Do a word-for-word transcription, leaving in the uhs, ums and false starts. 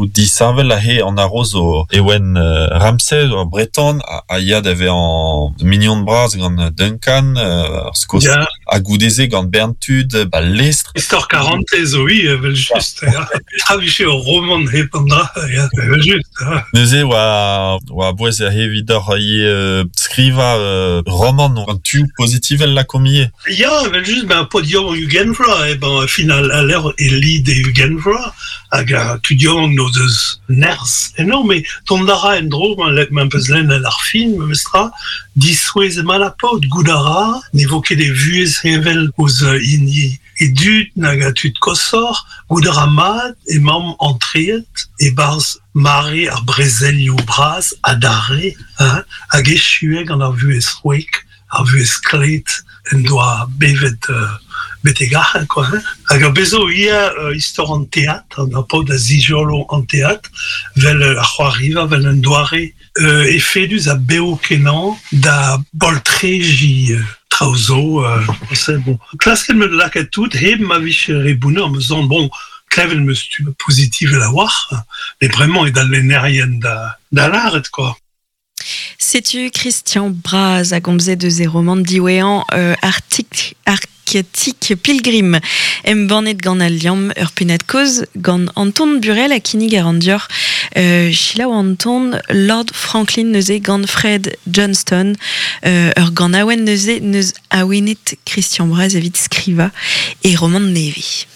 tu disheñvel aze an haroz zo Ewen euh, Ramsey, ur breton, a, a ya da vezañ mignon bras gant Duncan, euh, ar Skos, Ya. ha goude-se gant bern tud, ba lestr. Istor karantez zo ivez, evel just. Ya. Petra vije ur romant hep an dra, ya, evel just. Ya. Neuze oa, oa bouez aze evidoc'h ivez euh, skrivañ euh, romant an tu pozitivel lakaomp ivez. Ya, evel just, ben, paotr yaouank ugent vloaz, eh ben, final a levr e lid e ugent vloaz, hag a tud yaouank n'o deus nerzh eno, met dont a ra en-dro, ma le- ma peus lennet ar fin, memestra, disouezh emañ la paotr, goût a ra, ne vo ket e vuhez heñvel ouzh hini e dud nag a tud koshoc'h, goût a ra mat emaomp antreet e-barzh mare ar brezelioù bras adarre, hein, hag echuet gant ar vuhez c'hwek, ar vuhez klet en doa bevet euh, betek ac'hann, quoi, hein. Hag ar bezo ivez euh, istor an teatr, an ar paotr a zijolo an teatr, vel euh, ar c'hoariva, vel un doare euh, efedus a bev kenañ da boltrejiñ euh, traoù zo, euh, c'est bon. Klasket 'm eus lakaat tout, hep ma vije re bounner, me zan, bon, klevet 'm eus tu pozitivel a-walc'h, met bremañ eo d'al lennerien da, da lâret, quoi. Setu Christian Braz a gomze deus e romant diwezhañ euh, Arctic, Arctic Pilgrim embannet gant Al Liamm ur pennad-kaoz gant Anton Burel ha kinnig a ran deoc'h euh, selaou Anton Lord Franklin neuze gant Fred Johnston euh, ur ganaouenn neuze neus awenet Christian Braz evit skrivañ e romant nevez.